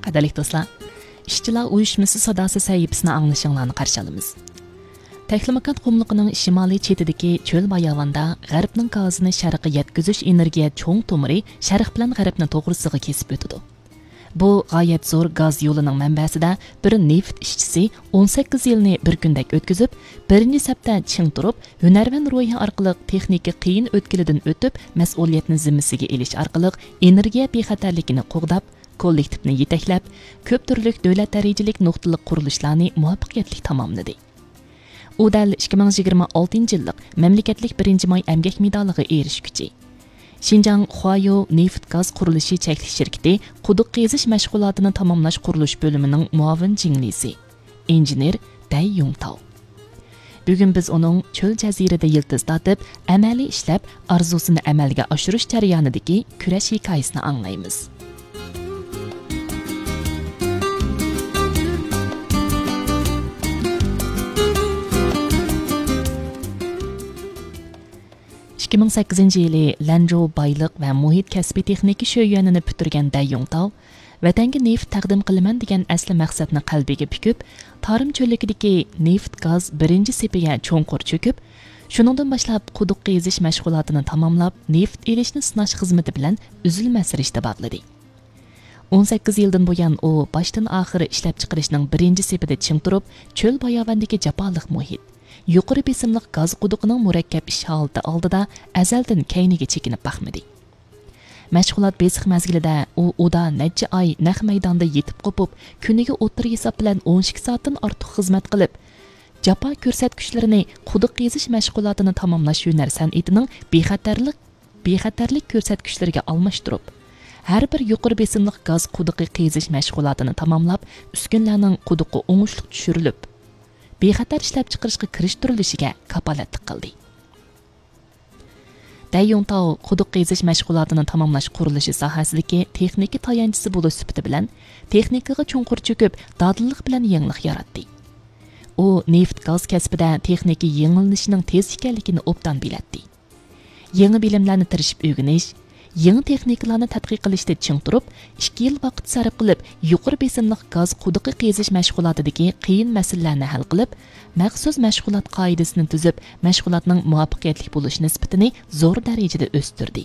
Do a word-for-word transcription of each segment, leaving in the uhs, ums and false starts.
قەدىرلىك دوستلار، ئىشچىلار ئۇيۇشمىسى ساداسى سەھىپىسىنى ئاڭلىشىڭلارنى قارشى ئالىمىز. تەكلىماكان قۇملۇقىنىڭ شىمالىي چېتىدىكى چۆل باياۋاندا غەربنىڭ گازىنى شەرققە يەتكۈزۈش ئېنېرگىيە چوڭ تومۇرى شەرق بىلەن غەربنى توغرىسىغا كېسىپ ئۆتىدۇ. بۇ غايەت زور گاز يولىنىڭ مەنبەسىدە بىر نېفىت ئىشچىسى ئون سەككىز يىلنى بىر كۈندەك ئۆتكۈزۈپ، بىرىنچى سەپتە چىڭ تۇرۇپ، ھۈنەرۋەن روھى ئارقىلىق تېخنىكا قىيىن ئۆتكىلىدىن ئۆتۈپ، مەسئۇلىيەتنى زىممىسىگە ئېلىش ئارقىلىق ئېنېرگىيە بىخەتەرلىكىنى قوغداپ، كوللېكتىپنى يېتەكلەپ، كۆپ تۈرلۈك دۆلەت دەرىجىلىك نۇقتىلىق قۇرۇلۇشلارنى مۇۋەپپەقىيەتلىك تاماملىدى. ئۇ دەل ئىككى مىڭ يىگىرمە ئالتىنچى يىللىق مەملىكەتلىك بىرىنچى ماي ئەمگەك مېدالىغا ئېرىشكۈچى. شىنجاڭ خۇايو نېفىت گاز قۇرۇلۇشى چەكلىك شىركىتى قۇدۇق قېزىش مەشغۇلاتىنى تاماملاش قۇرۇلۇش بۆلۈمىنىڭ مۇئاۋىن جىڭلىسى، ئىنژېنېر دەي يۇڭتاۋ. بۈگۈن بىز ئۇنىڭ چۆل جەزىرىدە يىلتىز تارتىپ، ئەمەلىي ئىشلەپ، ئارزۇسىنى ئەمەلگە ئاشۇرۇش جەريانىدىكى كۈرەش ھېكايىسىنى ئاڭلايمىز. ئىككى مىڭ سەككىزىنچى يىلى لەنجۇ بايلىق ۋە مۇھىت كەسپىي تېخنىكا شۆيۈەنىنى پۈتتۈرگەن دەي يۇڭتاۋ، ۋەتەنگە نېفىت تەقدىم قىلىمەن دېگەن ئەسلى مەقسەتنى قەلبىگە پۈكۈپ، تارىم چۆللۈكىدىكى نېفىت گاز بىرىنچى سېپىگە چوڭقۇر چۆكۈپ، شۇنىڭدىن باشلاپ قۇدۇق قېزىش مەشغۇلاتىنى تاماملاپ، نېفىت ئېلىشنى سىناش خىزمىتى بىلەن ئۈزۈلمەس رىشتە باغلىدى. ئون سەككىز يىلدىن بۇيان ئۇ باشتىن ئاخىر ئىشلەپچىقىرىشنىڭ بىرىنچى سېپىدە چىڭ تۇرۇپ، چۆل باياۋاندىكى جاپالىق مۇھىت، يۇقىرى بېسىملىق گاز قۇدۇقىنىڭ مۇرەككەپ ئىش ھالىتى ئالدىدا ئەزەلدىن كەينىگە چېكىنىپ باقمىدى. مەشغۇلات بېسىق مەزگىلىدە ئۇ ئۇدا نەچچە ئاي نەق مەيداندا يېتىپ قوپۇپ، كۈنىگە ئوتتۇرا ھېساب بىلەن ئون ئىككى سائەتتىن ئارتۇق خىزمەت قىلىپ، جاپا كۆرسەتكۈچلىرىنى قۇدۇق قېزىش مەشغۇلاتىنى تاماملاش ھۈنەر سەنئىتىنىڭ بىخەتەرلىك، بىخەتەرلىك كۆرسەتكۈچلىرىگە ئالماشتۇرۇپ، ھەر بىر يۇقىرى بېسىملىق گاز قۇدۇقى قېزىش مەشغۇلاتىنى تاماملاپ، ئۈسكۈنىلەرنىڭ قۇدۇققا ئوڭۇشلۇق چۈشۈرۈلۈپ، بىخەتەر ئىشلەپچىقىرىشقا كىرىشتۈرۈلۈشىگە كاپالەتلىك قىلدى. دەي يۇڭتاۋ قۇدۇق قېزىش مەشغۇلاتىنى تاماملاش قۇرۇلۇشى ساھەسىدىكى تېخنىكا تايانچىسى بولۇش سۈپىتى بىلەن تېخنىكىغا چوڭقۇر چۆكۈپ، دادىللىق بىلەن يېڭىلىق ياراتتى. ئۇ نېفىت گاز كەسپىدە تېخنىكا يېڭىلىنىشىنىڭ تېز ئىكەنلىكىنى ئوبدان بىلەتتى. يېڭى بىلىملەرنى تىرىشىپ ئۆگىنىش، يېڭى تېخنىكىلارنى تەتقىق قىلىشتا چىڭ تۇرۇپ، ئىككى يىل ۋاقىت سەرپ قىلىپ، يۇقىرى بېسىملىق گاز قۇدۇقى قېزىش مەشغۇلاتىدىكى قىيىن مەسىلىلەرنى ھەل قىلىپ، مەخسۇس مەشغۇلات قائىدىسىنى تۈزۈپ، مەشغۇلاتنىڭ مۇۋەپپەقىيەتلىك بولۇش نىسبىتىنى زور دەرىجىدە ئۆستۈردى.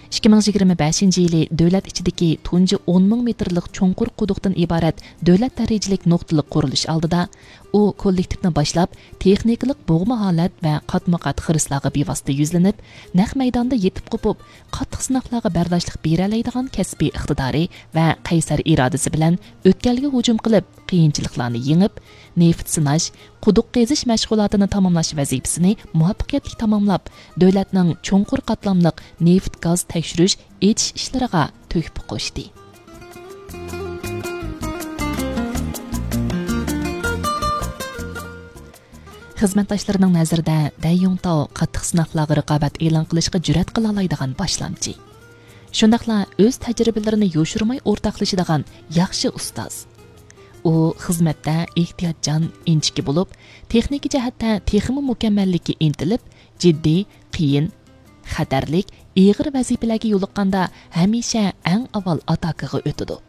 ئىككى مىڭ يىگىرمە بەشىنچى يىلى دۆلەت ئىچىدىكى تۇنجى ئون مىڭ مېتىرلىق چوڭقۇر قۇدۇقتىن ئىبارەت دۆلەت دەرىجىلىك نۇقتىلىق قۇرۇلۇش ئالدىدا، ئۇ كوللېكتىپنى باشلاپ، تېخنىكىلىق بوغما ھالەت ۋە قاتمۇ قات خىرىسلارغا بىۋاسىتە يۈزلىنىپ، نەق مەيداندا يېتىپ قوپۇپ، قاتتىق سىناقلارغا بەرداشلىق بېرەلەيدىغان كەسپىي ئىقتىدارى ۋە قەيسەر ئىرادىسى بىلەن ئۆتكەلگە ھۇجۇم قىلىپ، قىيىنچىلىقلارنى يېڭىپ، نېفىت سىناش، قۇدۇق قېزىش مەشغۇلاتىنى تاماملاش ۋەزىپىسىنى مۇۋەپپەقىيەتلىك تاماملاپ، دۆلەتنىڭ چوڭقۇر قاتلاملىق نېفىت گاز تەكشۈرۈش، ئېچىش ئىشلىرىغا تۆھپە قوشتى. خىزمەتداشلىرىنىڭ نەزىرىدە دەي يۇڭتاۋ قاتتىق سىناقلارغا رىقابەت ئېلان قىلىشقا جۈرئەت قىلالايدىغان باشلامچى. شۇنداقلا ئۆز تەجرىبىلىرىنى يوشۇرماي ئورتاقلىشىدىغان ياخشى ئۇستاز. ئۇ خىزمەتتە ئېھتىياتچان، ئىنچىكە بولۇپ، تېخنىكا جەھەتتە تېخىمۇ مۇكەممەللىككە ئىنتىلىپ، جىددىي، قىيىن، خەتەرلىك، ئېغىر ۋەزىپىلەرگە يولۇققاندا ھەمىشە ئەڭ ئاۋۋال ئاتاكىغا ئۆتىدۇ.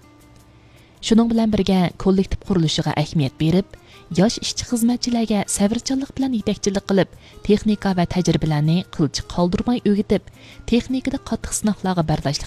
شۇنىڭ بىلەن بىرگە، كوللېكتىپ قۇرۇلۇشىغا ئەھمىيەت بېرىپ، ياش ئىشچى خىزمەتچىلەرگە سەۋرچانلىق بىلەن يېتەكچىلىك قىلىپ، تېخنىكا ۋە تەجرىبىلەرنى قىلچە قالدۇرماي ئۆگىتىپ، تېخنىكىدا قاتتىق سىناقلارغا بەرداشلىق